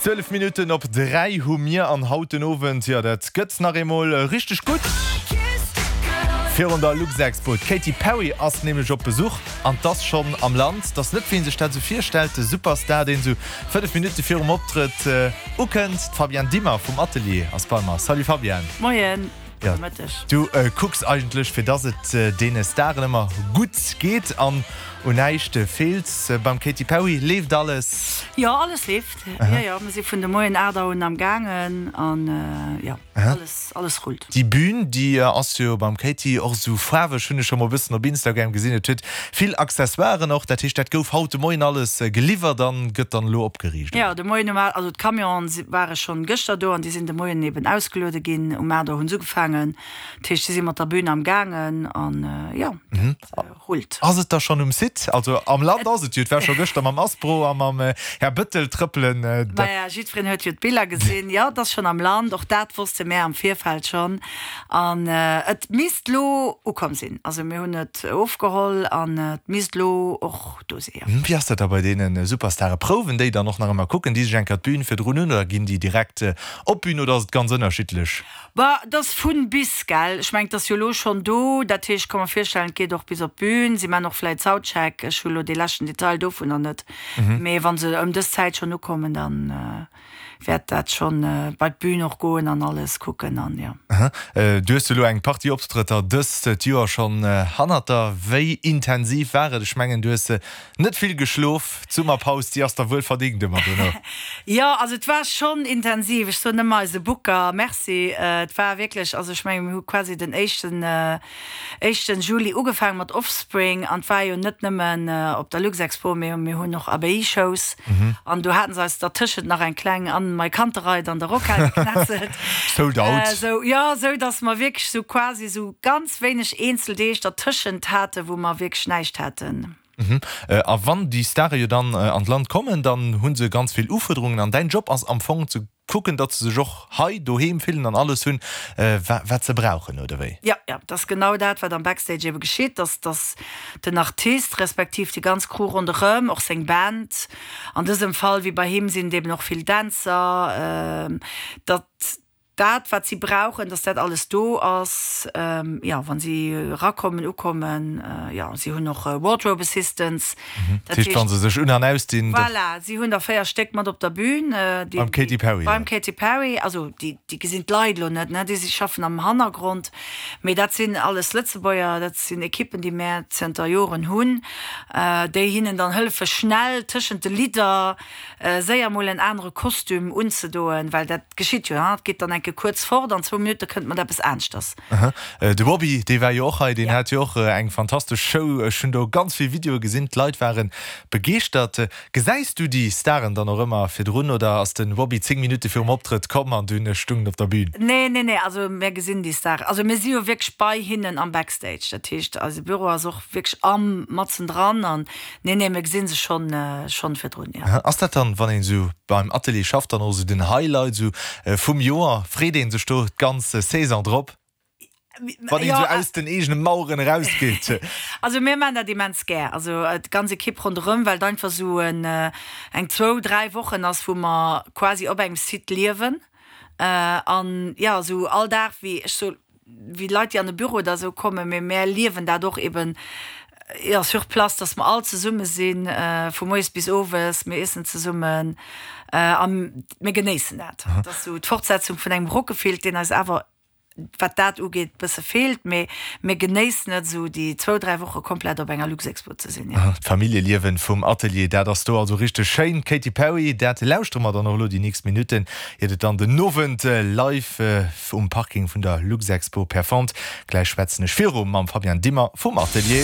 12 Minutten op 3 hu mir an haut den Owend, jo dat gëtt nach eemol richteg gutt virun der Luxexpo. D'Katy Perry ass nämlech op Besuch an 't ass schonn am Land. 't ass net wéi een sech dat esou virstellt, de Superstar deen esou 5 Minutte virum Optrëtt ukënnt. D'Fabienne Dimmer vum Atelier ass bei mer. Salut Fabienne. Moien. Jo, du kucks eigentlech fir dass et deene Staren ëmmer gutt geet an un näischt feelt. Beim Katy Perry leeft alles? Jo, alles leeft. Jo, jo, mir si vun de Moien 8 Auer un am gaangen an jo, alles, alles rullt. Déi Bühn, déi ass jo beim Katy och esou faarweg, hunn ech scho mol e bëssen op Instagram gesinn. Et huet vill Accessoiren och, dat heescht dat gouf haut de Moien alles geliwwert an gëtt dann elo opgeriicht, oder? Jo, de Moien um 8, also d'Camionen ware schonn gëschter do an déi sinn de Moien eben ausgeluede ginn. Um 8 Auer hunn se ugefaangen, dat heescht si si mat der Bühn am gaangen an jo, dat rullt. Ass et da schonn um Site? Also am Land ass et jo, et war scho gëschter mam Aspro a mam Här Bëttel trëppelen. Maja, jiddwereen huet jo d'Biller gesinn. Jo, et ass schonn am Land, och dat wosste mär am Virfeld schonn an et misst lo ukomm sinn. Also mir hunn et ofgeholl an et misst lo och do si, jo. Wéi ass dat da bei deene Superstare? Prouwen déi dann och nach ëmmer? Kucken déi sech eng Kéier d'Bün virdrun un oder ginn déi direkt op d'Bün oder ass et ganz ënnerschiddlech? Bah, et ass vun bis, gell? Ech mengen, et ass jo elo schonn do, dat heescht, ech ka mer virstellen, et geet och bis op d'Bün. Si man och vläit Soundcheck, ech hu lo dee leschten Detail dovunner net, mee wa se ëm dës Zäit schonn ukommen, dann wäert dat schonn bei d'Bün och goen an alles kucken an jo. Du hues elo eng Partie Optrëtter dëst Joer schonn hannert der. Wéi intensiv war et? Ech mengen, du hues net vill geschlof. D'Summerpaus, déi ass der wuel verdingt ëmmer dono. Jo, also et war schonn intensiv. Ech soen ëmmer eise Booker Merci. Et war wierklech, also ech mengen, mir hu quasi den éischten éischten Juli ugefaangen mat Offspring an 't war jo net nëmmen op der Luxexpo, mee mir hunn och ABI-Shows an do haten se eis dertëschent nach eng kleng an mei Kantereit an der Rockhal geknetzelt. Sold out. Sou, jo, sou dass mer wierklech sou quasi sou ganz wéineg eenzel Deeg dertëschent haten, wou mer wierklech näischt haten. A wann déi Stare jo dann an d'Land kommen, dann hu se ganz vill Ufuerderungen an däin Job ass am Fong ze kucken, datt se sech och hei doheem fillen an alles hunn, wat se brauchen, oder wéi? Jo, jo, dat ass genau dat, wat am Backstage ebe geschitt, dass, dass den Artist respektiv déi ganz Crew ronderëm, och seng Band, an dësem Fall wéi bei him sinn et eben och vill Dänzer, datt dat wat si brauchen, dass dat alles do ass, jo, wa si erakommen, ukommen, jo, si hunn och Wardrobe Assistants. Dat heescht, wa se sech un an ausdinn. Voilà, si hunn der 4 Stéck mat op der Bühn. Beim Katy Perry. Beim Katy Perry, also déi, déi gesinn d'Leit elo net, ne, déi si schaffen am Hannergrond, mee dat sinn alles Lëtzebuerger, dat sinn Ekippen, déi mär zënter Joren hunn, déi hinnen dann hëllefe schnell tëschent de Lidder séier mol en anere Kostüm unzedoen, well dat geschitt jo, et geet dann enke kuerz fort, an zwou Minutte kënnt mat eppes aneschters. De Bobby, dee war jo och hei, deen hat jo och eng fantastesch Show. Ech hunn do ganz vill Videoe gesinn, d'Leit ware begeeschtert. Gesäis du déi Staren dann och ëmmer virdrun oder ass de Bobby 10 Minutte virum Optrëtt komm an dunn stung en op der Bühn? Nee, nee, nee, also mir gesinn déi Staren, also mir si jo wierklech bei hinnen am Backstage, dat heescht eise Büro ass och wierklech am matzen dran an Nee, nee, mir gesinn se schonn, schonn virdrun, jo. Ass dat dann, wann een esou beim Atelier schafft, dann och esou den Highlight esou vum Joer? Freet een sech do d'ganz Saison drop, wann een esou aus den eegene Maueren erausgeet? Also mir maachen dat immens gär, also d'ganz Ekipp ronderëm, well et einfach esou en, eng zwou, dräi Wochen ass, wou mer quasi op engem Site liewen an, jo, esou all Dag, wéi ech soe wéi Leit, déi an de Büro oder esou kommen, mee mär liewen dat och eben, jo, sur place, dass mer all zesumme sinn, vu moies bis owes, mir iessen zesummen a mir genéissen dat. Dat ass esou d'Fortsetzung vun engem Rockefilk, deen eis awer, wat dat ugeet, bësse feelt, mee mir genéissen et, esou déi zwou, dräi Woche komplett op enger Luxexpo ze sinn, jo. D'Familljeliewen vum Atelier, dat ass do also richteg schéin. Katy Perry, dat lauschtere mer dann och elo déi nächst Minutten, iert et dann den Owend live Um Parking vun der Luxexpo performt. Gläich schwätzen ech viru mam Fabian Dimmer vum Atelier.